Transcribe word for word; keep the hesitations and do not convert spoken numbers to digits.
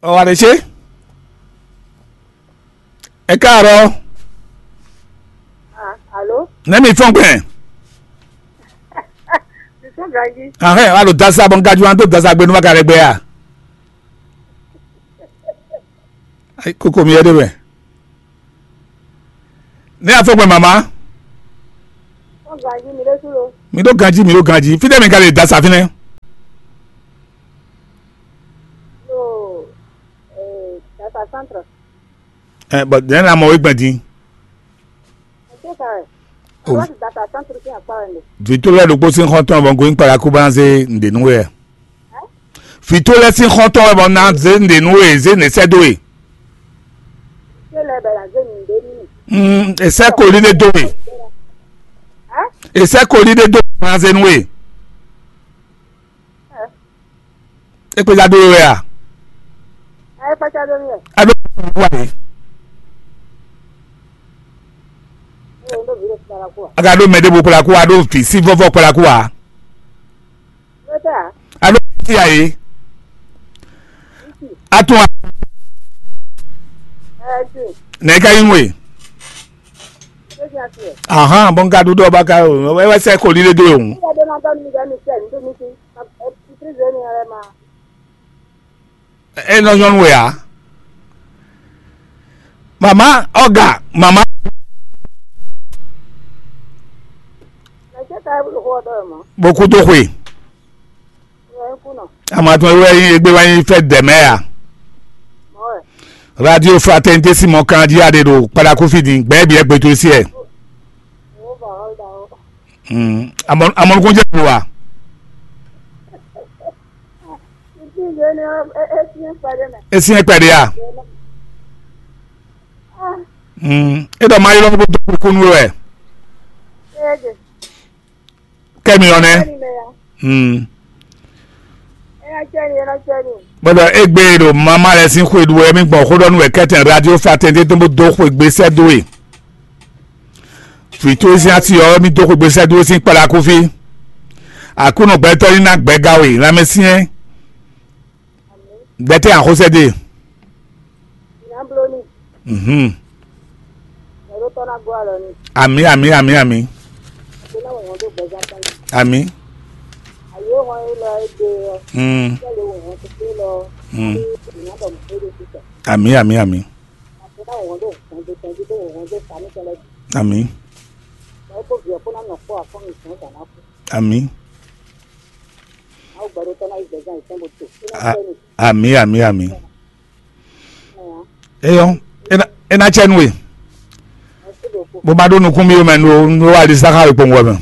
Ɔ wa ɖe ce. Ẹ káàárọ̀. Ah, allô? Nɛ́ mi fɔ́n gbɛn? Mi sɔ́n ganjí. Ahɛn, a ɖo dasa bɔ n gajú an dó dasa gbe nú ma ka ɖe gbɛ a? Ayi, kókó mi yɛ ɖe wɛ. Nɛ́ a fɔ́n gbɛn mama? Sɔ́n ganjí, mi ɖésú lo. Mi ɖó ganjí, mi ɖó ganjí. Fítɛ́ mi ka lè dasa fínɛ́? Lo, eh, dasa centre. Ɛ bɔ dɛ̌n na mɔ wé gbɛn din? Ɛ, dasa centre sín akpá wɛ. Vǐ tó lɛ́ɛ ɖokpó sín xɔ́ntɔn bɔ un gosín kpalaku bó ná zé nǔɖé nú we wɛ. Vǐ tó lɛ́ɛ sín xɔ́ntɔn wɛ bɔ un ná zé nǔɖé nú we, zé nǔɖé sɛ́ dó we. Mm, è sɛ́ koli ɖé dó we. È sɛ́ koli ɖé dó we bó ná zé nú we. É kpéjá dó we wɛ a? Ɛ kpácá dó mì wɛ. A ɖó wa yě. Ɛ ɖó vǐ ɖé kpalaku a? A ka ɖó mɛ ɖěvo kpalaku a, a ɖó vǐ sí vɔ́vɔ́ kpalaku a? Ló tɛ a? A ɖó vǐ sí a yě? A tún a? Ɛ ti. Nɛ̌ ká nyí we? Ló ti a ti ɛ? Ahán, bɔn ka ɖu ɖɔ ba ka o, wɛ wɛ sɛ ko líle dó ewu. Ní ɛdó ná dɔn mi dɛ mi sɛ ní dó mi sí. Ɛ ti zé mi ɛ ma. E nɔ nyɔnu wɛ a? Mama ɔga mama. Mɛ tɛ ka e bolo xɔ dɔ mɔ. Bo kú tó xwe. Ɛ kú nɔ. Amatɔn wɛ yin egbe wa yin fɛ dɛmɛ a? Mɔ wɛ. Radio Fraternité Simon Kanji a ɖe ɖo kpadaku fi din gbɛ bi ɛgbɛ to si ɛ. Wo ba ɔ da o. Hmm. Amɔ amɔnukun jɛ wa. Ìdí ìwé ni ẹ ẹ ti ń pàdé mẹ. Esi yẹn pẹ̀lú ya. Ah, Hmm. E dɔ ma yi lɔ bó tó kúkú nú wɛ. Ẹ jẹ. Kẹ́mi ɔnɛ. Ẹni mẹ ya. Hmm. Ẹ yà jẹ ni, ẹ yà jẹ ni. Bọ́dọ̀ egbe ɖo mama lɛ sín xwe ɖu wɛ mi gbɔn xó ɖɔ nú wɛ kɛtɛn radio fa tɛn tɛn tó bó dó xwe gbé sɛ dó e. Fito sín asi ɔ́, mì dó xwegbe sɛ́ dó sín kpalakufi. Aklúnɔ gbɛtɔ́ ní ná gbɛga we lanmɛsyɛn. Dɛtɛ́ axósɛ́ dé. Nya bló ní. Mhm. Ẹ̀rọ tọ́ ná gbọ́ àlọ́ ni. Àmì, àmì, àmì, àmì. Àti náà wọ́n tó gbẹ̀gá tán. Àmì. Àyè wọn yìí lọ ẹgbẹ́ ọ. Mm. Kí ẹ lè wò wọ́n tó gbé lọ. Mm. Ìyá bọ̀ mọ́ tó lè fi tẹ̀. Àmì, àmì, àmì. Àti náà wọ́n tó wọ́n tó tẹ̀ tó wọ́n tó sá ní tẹ́lẹ̀. Àmì. Ẹ kó bìí ẹ kó ná nọ kó àfọ́n mi sàn sàn náà kú. Àmì. Àwọn gbàdúrà tán láì gbẹ̀gá ìtàn bó tó. Kí náà A- tẹ́ mi. Àmì, àmì, àmì. Eyɔn, ena ena tsɛ nu e. Bó ma ɖó nukún mi mɛ nu nu wa li sáká wekpɔn wɛ mɛ.